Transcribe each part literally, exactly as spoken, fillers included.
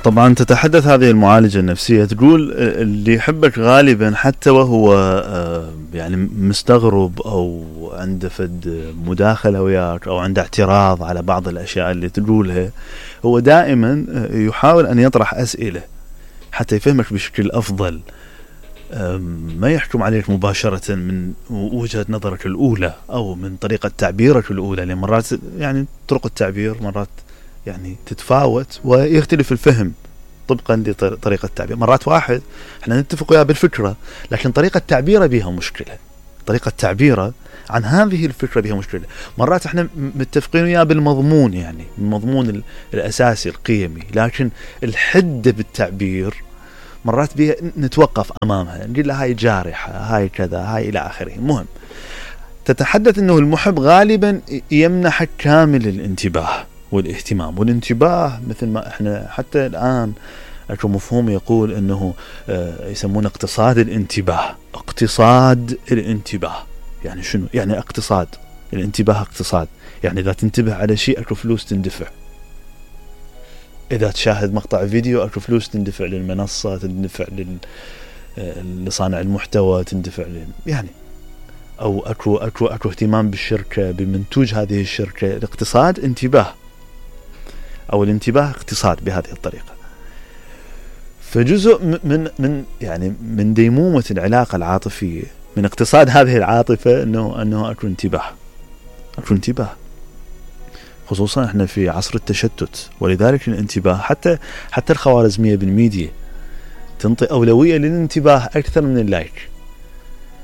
طبعا تتحدث هذه المعالجة النفسية تقول اللي يحبك غالبا حتى وهو يعني مستغرب أو عنده فد مداخلة وياك أو عنده اعتراض على بعض الأشياء اللي تقولها، هو دائما يحاول أن يطرح أسئلة حتى يفهمك بشكل أفضل، ما يحكم عليك مباشرة من وجهة نظرك الأولى أو من طريقة تعبيرك الأولى، لأن مرات يعني طرق التعبير مرات يعني تتفاوت ويختلف الفهم طبقا لطريقة التعبير. مرات واحد احنا نتفق وياه بالفكرة لكن طريقة تعبيره بها مشكلة، طريقة تعبيره عن هذه الفكرة بها مشكلة. مرات احنا متفقين وياه بالمضمون، يعني المضمون الأساسي القيمي، لكن الحدة بالتعبير مرات بها نتوقف أمامها، نقول له هاي جارحة، هاي كذا، هاي إلى آخره. مهم تتحدث أنه المحب غالبا يمنحك كامل الانتباه والاهتمام، والانتباه مثل ما احنا حتى الآن اكو مفهوم يقول انه اه يسمونه اقتصاد الانتباه. اقتصاد الانتباه يعني شنو؟ يعني اقتصاد الانتباه، اقتصاد يعني اذا تنتبه على شيء اكو فلوس تندفع، اذا تشاهد مقطع فيديو اكو فلوس تندفع للمنصة، تندفع لصانع المحتوى، تندفع لل... يعني او اكو اكو اكو اهتمام بالشركة بمنتوج هذه الشركة. الاقتصاد انتباه او الانتباه اقتصاد بهذه الطريقة. فجزء من من يعني من ديمومة العلاقة العاطفية، من اقتصاد هذه العاطفة انه انه اكو انتباه، اكو انتباه، خصوصا احنا في عصر التشتت، ولذلك الانتباه حتى حتى الخوارزمية بالميديا تنطي أولوية للانتباه أكثر من اللايك.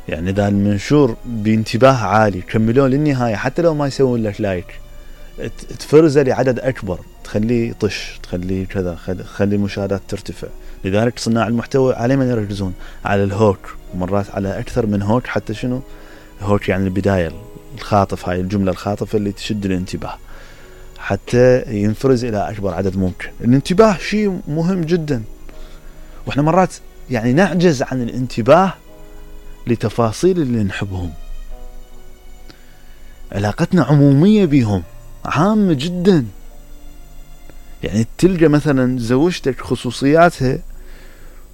يعني إذا المنشور بانتباه عالي كملوه للنهاية حتى لو ما يسوون لك لايك، تفرزه لعدد أكبر، تخليه طش، تخليه كذا، تخلي المشاهدات ترتفع. لذلك صناع المحتوى على من يركزون على الهوك، ومرات على أكثر من هوك، حتى شنو هوك يعني البداية الخاطف، هاي الجملة الخاطفة اللي تشد الانتباه حتى ينفرز إلى أكبر عدد ممكن. الانتباه شيء مهم جدا، وإحنا مرات يعني نعجز عن الانتباه لتفاصيل اللي نحبهم. علاقتنا عمومية بهم، عامة جدا. يعني تلقى مثلا زوجتك خصوصياتها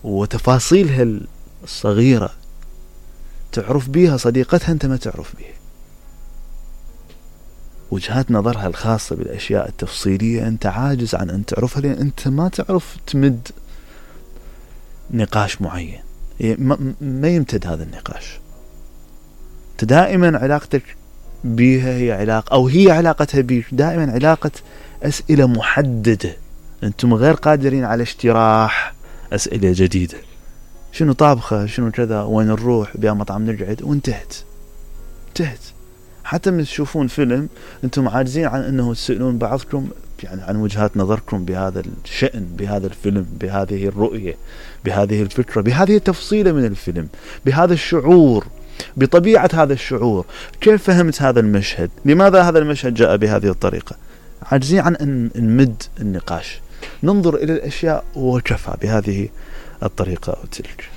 وتفاصيلها الصغيرة تعرف بيها، صديقتها أنت ما تعرف بيها، وجهات نظرها الخاصة بالأشياء التفصيلية أنت عاجز عن أن تعرفها، لأن أنت ما تعرف تمد نقاش معين، ما يمتد هذا النقاش. دائما علاقتك بيها هي علاقة، أو هي علاقتها بيك دائما علاقة أسئلة محددة، أنتم غير قادرين على اشتراح أسئلة جديدة. شنو طابخة، شنو كذا، وين نروح، بيا مطعم نقعد، وانتهت انتهت. حتى من تشوفون فيلم أنتم عاجزين عن أنه تسألون بعضكم يعني عن وجهات نظركم بهذا الشأن، بهذا الفيلم، بهذه الرؤية، بهذه الفكرة، بهذه التفصيلة من الفيلم، بهذا الشعور، بطبيعة هذا الشعور. كيف فهمت هذا المشهد؟ لماذا هذا المشهد جاء بهذه الطريقة؟ عاجزين عن أن نمد النقاش، ننظر إلى الأشياء وكفى بهذه الطريقة أو تلك.